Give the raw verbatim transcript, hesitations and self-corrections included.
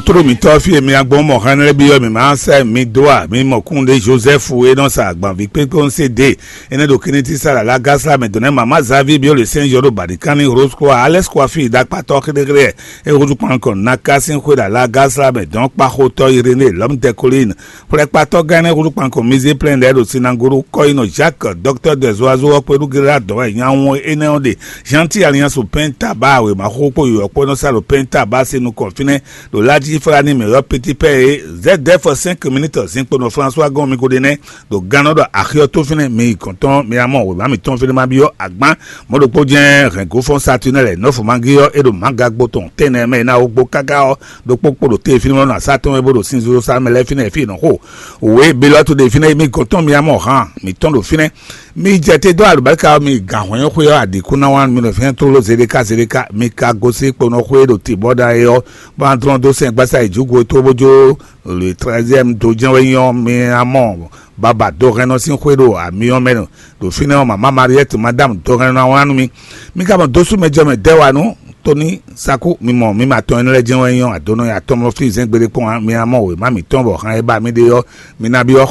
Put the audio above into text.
Tló mǐtɔn fí e mi agbɔn mɔ hɛn lɛ́ɛ byɔ́ mǐ ma sɛ́ mi dó a mi mɔ kún ɖé Jozɛ́fu e nɔ sa agbanví kpékpé ɔ́ se dě. Énɛ́ ɖo kínní tí sa lǎlá gásla mɛ dɔ̌n nɛ́ mama Zavi byɔ́ le sɛ́n yɔ́ ɖo bǎɖikánní Rose Croix Alex Coiffure ɖakpatɔ́ xéɖéxéɖé. É húzú kpan kɔn naka sín xwé lǎlá gásla mɛ dɔ̌n kpaxotɔ́ Iréné lɔ̌m Dɛkolín. Xwlɛ́kpatɔ́ gán énɛ́ húzú kpan kɔn mizé plɛ́n lɛ́ɛ ɖo sinagolo kɔ́yinɔ Jacques dɔktɔ́ de zoazo ɔ́ kpé ɖu géɖé adɔ̌ wɛ nyawun énɛ́ ɔ́ ɖe. Jean-Ti Alliance Penta ba wěma xóxó kpó yɔ̌yɔ́ kpó nɔ sa ɖo Penta ba se nukɔn fínɛ́ ɖo Laji Flani mɛ yɔ́ Petit Pɛ e Z F cinq minutes zinkpo nɔ François gɔn mi ko ɖe nɛ́ ɖo gannɔ ɖɔ axi ɔ́ tó fínɛ́ mi yi gɔ̌n tɔn mi amɔ wěma mitɔn fínɛ́ ma byɔ́ agbán. Mɔ̌ ɖokpó jɛ́n hɛ̌ngo fɔ́n Satunɛ́ lɛ̌ nɔ́ fɔmagí ɔ́ é ɖo mǎgagbo tɔn tɛ́nnɛ mɛ ná wó gbó káká ɔ́ ɖokpó kpo ɖo te fínɛ́ nɔ asá tɔn wɛ bó ɖo sinzolo sa mɛ lɛ́ɛ fínɛ́ fí nɔ xo. Wě Belɔ́tu ɖe fínɛ́ mi gɔ̌n tɔn mi amɔ hǎn mitɔn ɖo fínɛ́. Mi jɛ te dó alubáríka ɔ́, mi gǎn hwɛ́n xwé ɔ́, aɖǐkúnná wán mi nɔ fɛ́n tlóló zeɖéká zeɖéká, mi ka gosín kponɔ xwé ɖo te bɔ́ ɖa é ɔ́, bó ná dlɔ́n dó sɛn gbásá yi jǔgo tó bó jó le treizième dó jɛ́n wɛ nyí ɔ́, mi ná mɔ baba dohɛnnɔ sín xwé ɖo amyɔ mɛ ɖo fínɛ́ ɔ́, mama Mariette madame dohɛnnɔ ná wlán nú mi. Mi ka mɔ dó sú mɛ jɔ mɛ dɛ́ wa nú Toni Saku, mi mɔ mi ma tɔn énɛ́ lɛ́ɛ jɛ́n wɛ nyí ɔ́, adonɔ ya tɔn mɔ fí zɛ́n gbeɖé kpɔ́n ǎ, mi ná mɔ wěma mǐtɔn bɔ han e ba mi ɖe ɔ́, mi ná byɔ́